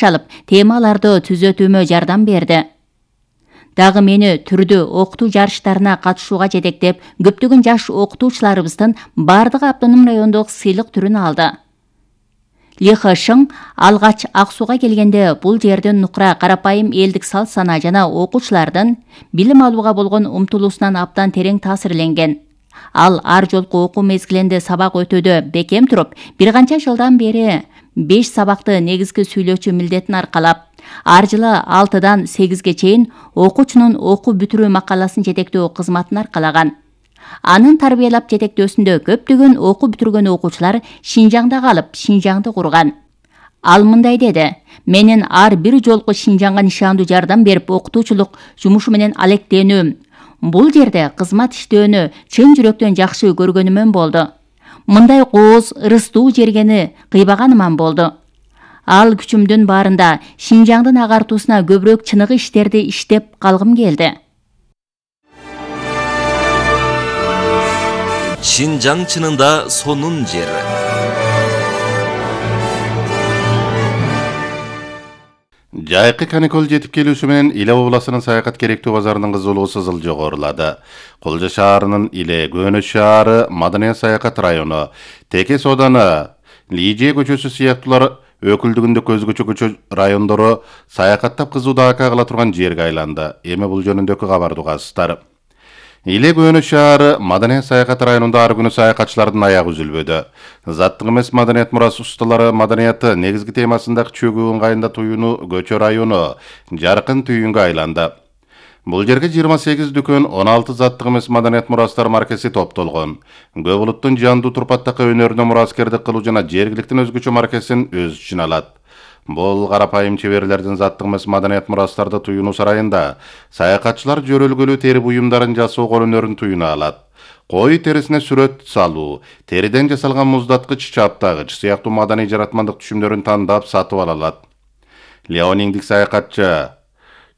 алып, темаларды түзөтүүмө жардам берди. Дагы мени түрдүү окутуу жарыштарына катышууга жетектеп, көптөгөн жаш окутуучуларыбыздын бардыгы автоном райондук сыйлык түрүн алды. Ли Хэшиң алгач Ак Сууга келгенде бул жердин нукура карапайым элдик салт сана жана окуучулардын билим алууга болгон умтулуусунан абдан терең таасирленген. Ал ар жолку окуу мезгилинде сабак өтүүдө бекем туруп, бир канча жылдан бери 5 сабакты негизги сүйлөөчү милдетин аркалап, ар жылы 6-дан 8-ге чейин окуучунун окуу бүтүрүү макаласын жетектөө кызматын аркалаган. Анын тарбиялап жетектөөсүндө көптөгөн окуу бүтүргөн окуучулар Шинжаңда калып, Шинжаңды курган. Ал мындай деди: "Менин ар бир жолку Шинжаңга нишандуу жардам берип окутуучулук жумушу менен алектенүүм, бул жерде кызмат иштөөнү чын жүрөктөн жакшы көргөнүмөн болду. Мындай кооз, ырыстуу жергени кыйбаганыман болду. Ал күчүмдүн баарында Шинжаңдын агартуусуна көбүрөөк чыныгы иштерди иштеп калгым келди." Шинжаң чынында сонун жер. Жайкы каникул жетип келүүсү менен Иле областынын саякат керектүү базарынын кызуулугу сызыл жогорулады. Кулжа шаарынын Иле Көнөз шаары, Маданият саякат району, Текес ооданы, Лижие көчөсү сыяктуулар өкүлдүгүндө көзгөчө көчө райондору саякаттап кызуу даакка кыла турган жерге айланды. Эми бул жөнүндөгү кабарды угасыздар. Иле Көнөз шаары, Маданият саякат районунда ар күнү саякатчылардын аягы үзүлбөдү. Заттык эмес маданият мурас усталары маданияты негизги темасындагы чөгүү ыңгайында туюну көчө району жаркын түйүнгө айланды. Бул жерге 28 дүкөн, 16 заттык эмес маданият мурастар маркеси топтолгон. Көп улуттун жандуу турпаттакы өнөрүнө мураскердик кылуу жана жергиликтин өзгөчө маркесин өз ичине алат. Бул карапайым чеберлердин заттык эмес маданият мурастарды туюнуу сарайында саякатчылар жөрөлгөлүү тери буюмдарын жасоо кол өнөрүн туюна алат. Кой терисине сүрөт салуу, териден жасалган муздаткыч, чаптагыч сыяктуу маданий жаратмандык түшүмдөрүн тандап сатып ала алат. Леониңдик саякатчы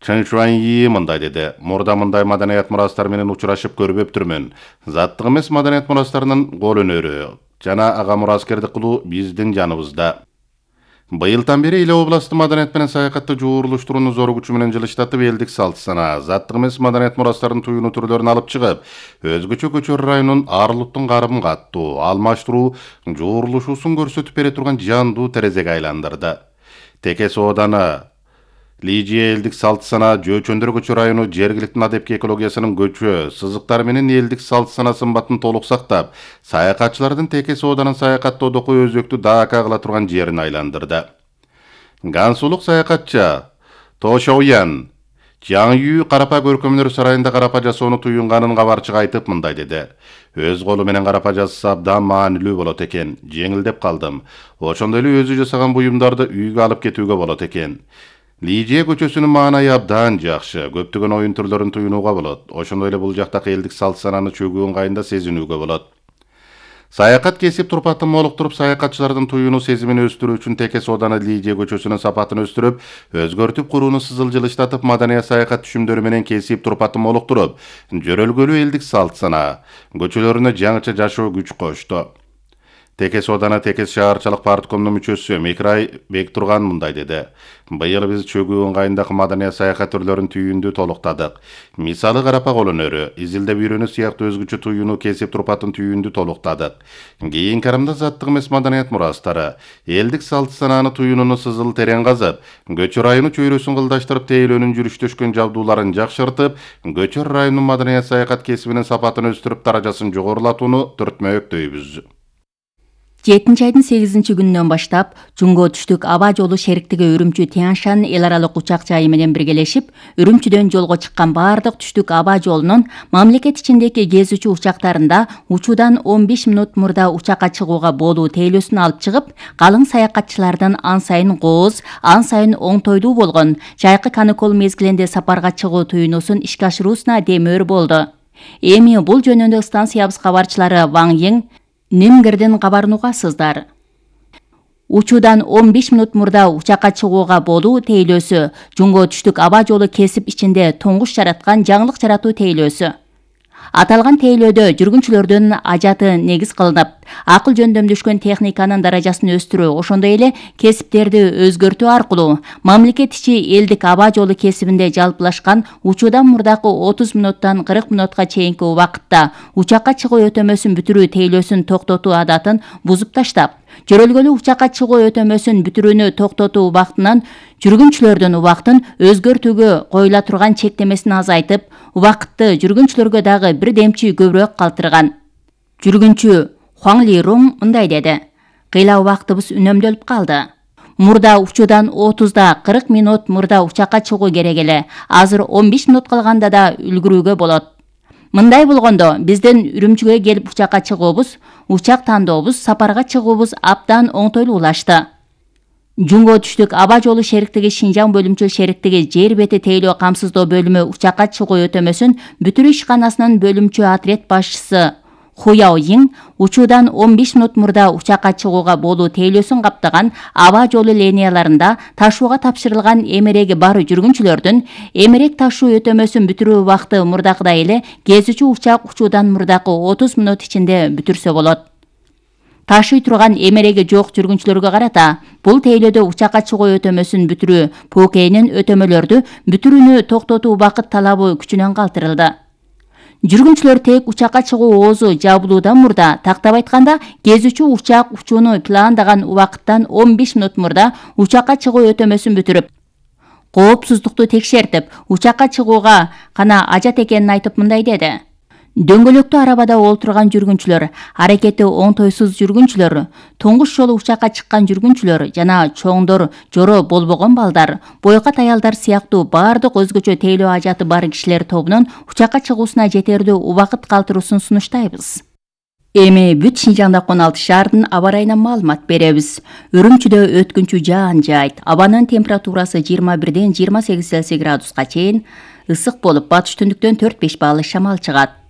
Чын Шуаньи мындай деди: "Мурда мындай маданият мурастар менен учурашып көрбөптүрмүн. Заттык эмес маданият мурастарынын кол өнөрү жана ага мураскердик кылуу биздин жаныбызда." Быйылдан бери Иле областы маданият менен саякатты жуурулуштурууну зор күчү менен жылыштатып, элдик салт сана, заттык эмес маданият мурастарын туюнуу түрлөрүн алып чыгып, өзгөчө көчөр районунун ар улуттун карым каттуу, алмаштыруу, жуурулушуусун көрсөтүп бере турган жандуу терезеге айландырды. Текес ооданы, Лижие элдик салт сана, Жөөчөндөр көчө району жергиликтин адепки экологиясынын көчө, сызыктар менен элдик салт сана сымбатын толук сактап, саякатчылардын Текес ооданын саякаттоодогу өзөктүү даакка кыла турган жерин айландырды. Гансулук саякатчы То Шоуян Жаң карапа көркөмдөр сарайында карапа жасоону туюнганын кабарчык айтып мындай деди: "Өз колу менен карапа жасаса абдан маанилүү болот экен. Жеңилдеп калдым. Ошондой эле өзү жасаган буюмдарды үйгө алып кетүүгө болот экен. Лижие көчөсүнүн маанайы абдан жакшы. Көптөгөн оюн түрлөрүн туюнууга болот. Ошондой эле бул жактагы элдик салт сананы чөгүү ыңгайында сезинүүгө болот." Саякат кесип турпатын молуктуруп, саякатчылардын туюнуу сезимин өстүрүү үчүн Текес ооданы Лижие көчөсүнүн сапатын өстүрүп, өзгөртүп курууну сызыл жылыштатып, маданият саякат түшүмдөрү менен кесип турпатын молуктуруп, жөрөлгөлүү элдик салт сана көчөлөрүнө жаңыча жашоо күч кошту. Текес ооданы Текес шаарчылык парткомунун мүчөсү Микрай Бектурган мындай деди: "Быйыл биз чөгүү ыңгайындагы маданият саякат түрлөрүн түйүндү толуктадык. Мисалы карапа кол өнөрү, изилдеп үйрөнүү сыяктуу өзгөчө туюну кесип турпатын түйүндү толуктадык. Кийинки карымда заттык эмес маданият мурастары, элдик салт сананы туюнууну сызыл терең казып, көчө району чөйрөсүн кылдаштырып, тейлөөнүн жүрүштөшкөн жабдууларын жакшыртып, көчөр районунун маданият саякат кесибинин сапатын өстүрүп, даражасын жогорулатууну түртмөктөйбүз." 7 айдын 8 күнүнөн баштап Жунго түштүк аба жолу шериктиги Үрүмчү Тяньшан эл аралык учак жайы менен биргелешип, Үрүмчүдөн жолго чыккан бардык түштүк аба жолунун мамлекет ичиндеги кезүүчү учактарында учуудан 15 мүнөт мурда учакка чыгууга болуу тейлөөсүн алып чыгып, калың саякатчылардын ан сайын кооз, ан сайын оңтойдуу болгон жайкы каникул мезгилинде сапарга чыгуу туюнуусун ишке ашыруусуна демөөр болду. Эми бул жөнүндө станциябыз кабарчылары Ваң Йиң Нимгердин кабарын угасыздар. Учуудан 15 мүнөт мурда учакка чыгууга болуу тейлөөсү Жунго түштүк аба жолу кесип ичинде тоңуш жараткан жаңылык жаратуу тейлөөсү. Аталган тейлөөдө жүргүнчүлөрдүн ажаты негиз кылынып, акыл жөндөмдөшкөн техниканын даражасын өстүрүү, ошондой эле кесиптерди өзгөртүү аркылуу мамлекет ичи элдик аба жолу кесибинде жалпылашкан учуудан мурдакы 30 мүнөттөн 40 мүнөткө чейинки убакытта учакка чыгуу өтөмөсүн бүтүрүү тейлөөсүн токтотуу адатын бузуп таштап, жөрөлгөлүү учакка чыгуу өтөмөсүн бүтүрүүнү токтотуу убактынан жүргүнчүлөрдүн убактын өзгөртүүгө коюла турган чектемесин азайтып, убакытты жүргүнчүлөргө дагы бир демчи көбүрөөк калтырган. Жүргүнчү Хуаң Ли Рун мындай деди: "Кыйла убактыбыз үнөмдөлүп калды. Мурда учуудан 30да 40 мүнөт мурда учакка чыгуу керек эле. Азыр 15 мүнөт калганда да үлгүрүүгө болот. Мындай болгондо биздин Үрүмчүгө келип учакка чыгуубуз, учак тандообуз, сапарга чыгуубуз абдан оңтойлуулашты." Жумго түштүк аба жолу шериктиги Шинжаң бөлүмчө шериктиги жер бети тейлөө камсыздоо бөлүмү учакка чыгуу өтөмөсүн бүтүрүү ишканасынын бөлүмчө отряд башчысы Ху Яо Йин учуудан 15 мүнөт мурда учакка чыгууга болуу тейлөөсүн каптаган аба жолу линияларында ташууга тапшырылган эмереги бар жүргүнчүлөрдүн эмерек ташуу өтөмөсүн бүтүрүү убакыты мурдакыдай эле кезүүчү учак учуудан мурдакы 30 мүнөт ичинде бүтүрсө болот. Ташый турган эмереги жок жүргүнчүлөргө карата бул тейлөөдө учакка чыгуу өтөмөсүн бүтүрүү ПКнин өтөмөлөрдү бүтүрүүнү токтотуу убакыт талабы күчүнөн калтырылды. Жүргүнчүлөр тек учакка чыгуу оозу жабылуудан мурда, тактап айтканда, кезүүчү учак учууну пландаган убакыттан 15 мүнөт мурда учакка чыгуу өтөмөсүн бүтүрүп, коопсуздукту текшертип, учакка чыгууга гана ажат экенин айтып мындай деди: "Дөңгөлөктүү арабада олтурган жүргүнчүлөр, аракети оңтойсуз жүргүнчүлөр, туңгуч жолу учакка чыккан жүргүнчүлөр жана чоңдор, жоро болбогон балдар, бойкат аялдар сыяктуу бардык өзгөчө тейлөө ажаты бар кишилер тобунун учакка чыгуусуна жетердүү убакыт калтыруусун сунуштайбыз." Эми бүт Шинжаңда 16 шаардын аба ырайынан маалымат беребиз. Үрүмчүдө өткүнчү жаан жаайт. Абанын температурасы 21ден 28 Цельсий градуска чейин ысык болуп, батыш түндүктөн 4-5 балл шамал чыгат.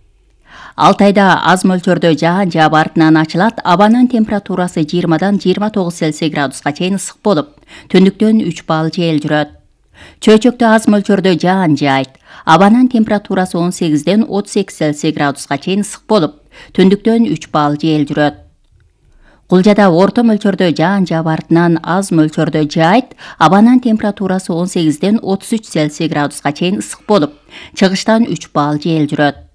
Алтайда аз мөлчөрдө жаан жаап артынан ачылат. Абанын температурасы 20дан 29 Цельсий градуска чейин ысык болуп, түндүктөн 3 балл жел жүрөт. Чөйчөктө аз мөлчөрдө жаан жаайт. Абанын температурасы 18ден 38 Цельсий градуска чейин ысык болуп, түндүктөн 3 балл жел жүрөт. Кулжада орто мөлчөрдө жаан жаап артынан аз мөлчөрдө жаайт. Абанын температурасы 18ден 33 Цельсий градуска чейин ысык болуп, чыгыштан 3 балл жел жүрөт.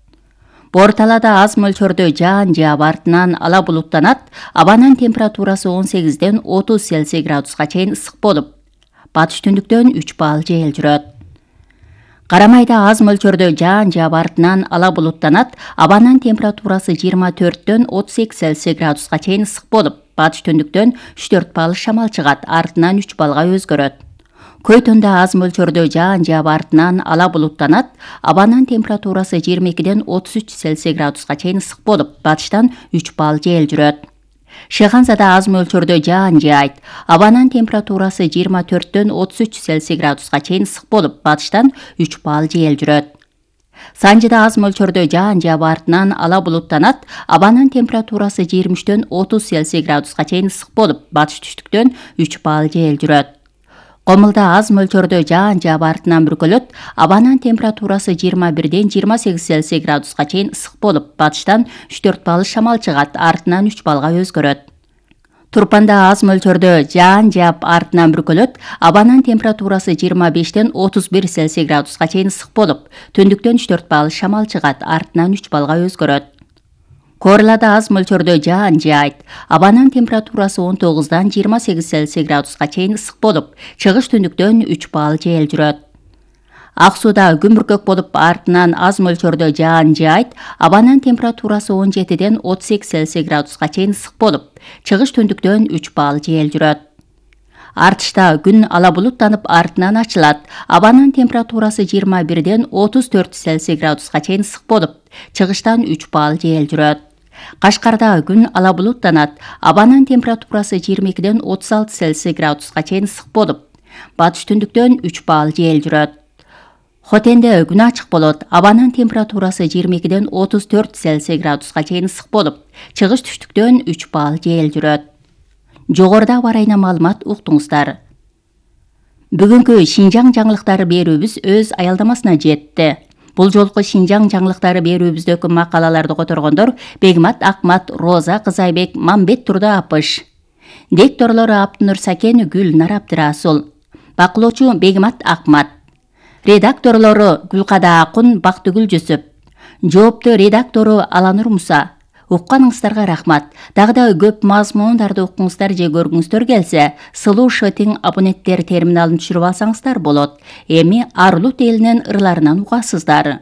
Борталада аз мөлчөрдө жаан жаап артынан ала булуттанат. Абанын температурасы 18ден 30 Цельсий градуска чейин ысык болуп, батыш түндүктөн 3 балл жел жүрөт. Карамайда аз мөлчөрдө жаан жаап артынан ала булуттанат. Абанын температурасы 24ден 32 Цельсий градуска чейин ысык болуп, батыш түндүктөн 3-4 балл шамал чыгат, артынан 3 баллга өзгөрөт. Көйтөндө аз мөлчөрдө жаан жаап артынан ала булуттанат. Абанын температурасы 22ден 33 Цельсий градуска чейин ысык болуп, батыштан 3 балл жел жүрөт. Шыханзада аз мөлчөрдө жаан жаайт. Абанын температурасы 24ден 33 Цельсий градуска чейин ысык болуп, батыштан 3 балл жел жүрөт. Санжыда аз мөлчөрдө жаан жаап артынан ала булуттанат. Абанын температурасы 23ден 30 Цельсий градуска чейин ысык болуп, батыш түштүктөн 3 балл жел жүрөт. Комулда аз мөлчөрдө жаан жаап артынан бүркөлөт. Абанын температурасы 21ден 28 Цельсий градуска чейин ысык болуп, батыштан 3-4 балл шамал чыгат, артынан 3 баллга өзгөрөт. Турпанда аз мөлчөрдө жаан жаап артынан бүркөлөт. Абанын температурасы 25ден 31 Цельсий градуска чейин ысык болуп, түндүктөн 3-4 балл шамал чыгат, артынан 3 баллга өзгөрөт. Корлада аз мөлчөрдө жаан жаайт. Абанын температурасы 19дан 28 Цельсий градуска чейин ысык болуп, чыгыш түндүктөн 3 балл жел жүрөт. Ак сууда күн бүркөк болуп, артынан аз мөлчөрдө жаан жаайт. Абанын температурасы 17ден 38 Цельсий градуска чейин ысык болуп, чыгыш түндүктөн 3 балл жел жүрөт. Артышта күн ала булуттанып, артынан ачылат. Абанын температурасы 21ден 34 Цельсий градуска чейин ысык болуп, чыгыштан 3 балл жел жүрөт. Кашкарда күн ала булуттанат. Абанын температурасы 22ден 36 Цельсий градуска чейин ысык болуп, батыш түндүктөн 3 балл жел жүрөт. Хотенде күн ачык болот. Абанын температурасы 22ден 34 Цельсий градуска чейин ысык болуп, чыгыш түштүктөн 3 балл жел жүрөт. Жогоруда аба ырайына маалымат уктуңуздар. Бүгүнкү Шинжаң жаңылыктары берүүбүз өз аялдамасына жетти. Бул жолку Шинжаң жаңылыктары берүүбүздөгү макалаларды которгондор Бегмат Акмат, Роза Кызайбек, Мамбет Турда Апыш. Дикторлору Аптынур Сакен, Гүлнар Абдырасул. Бакылоочу Бегмат Акмат. Редакторлору Гүлкада Акун, Бактыгүл Жүсүп. Жоопту редактору Аланур Муса. Укканыңыздарга рахмат. Дагы да көп мазмундарды укуңуздар же көргүңүздөр келсе, Сылуу Шотинг абоненттер терминалын түшүрүп алсаңыздар болот. Эми Арлут элинин ырларынан угасыздар.